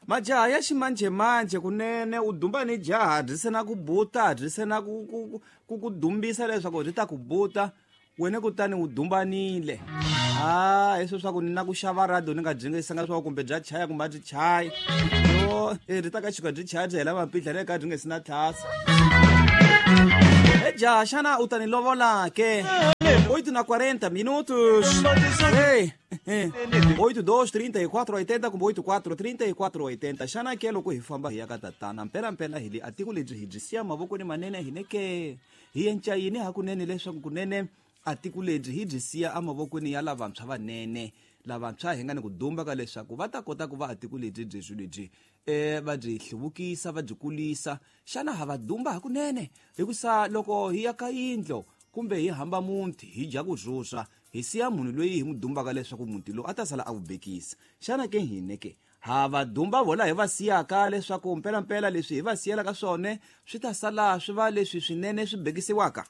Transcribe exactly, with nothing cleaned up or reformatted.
Majaha ya ximanjhemanjhe kunene u dumba ni jaha byi se na ku buta, byi se na ku ku ku ku dumbisa leswaku byi ta ku buta, wena kutani u dumbanile. Ah, hi swa ku ni na ku xava radio ni nga byi ngisanga swa kumbe bya chaya kumbe a byi chayi. Yo, e ri ta ka chika byi chaya byi hela mapidla le ka byi nge si na tlhasa. E jaha, xana u ta ni lovola ke? oito na quarenta minutos. Ei, oito dois trinta e quatro oitenta kumbe oito quatro trinta e quatro oitenta. Xana ke loko hi famba hi ya ka tatana, mpela mpela hi le a tiko lebyi hi byi siya mavokweni manene hi neke hi enca yini hakunene leswaku kunene a tiko lebyi hi byi siya emavokweni ya lavantshwa vanene, lavantshwa hi nga ni ku dumba ka leswaku va ta kota ku va a tiko lebyi byi byi lebyi eh va byi hluvukisa, va byi kulisa. Xana ha va dumba hakunene? Hikusa loko hi ya ka yindlo kumbe hi hamba muti hi dya ku rhurha, hi siya munhu loyi hi n'wi dumbaka leswaku muti lowu a ta sala a wu bekisa. Xana ke hine ke ha va dumba vola hi va siyaka leswaku mpelampela leswi hi va siyelaka swona swi ta sala swi va leswi swinene swi bekisiwaka?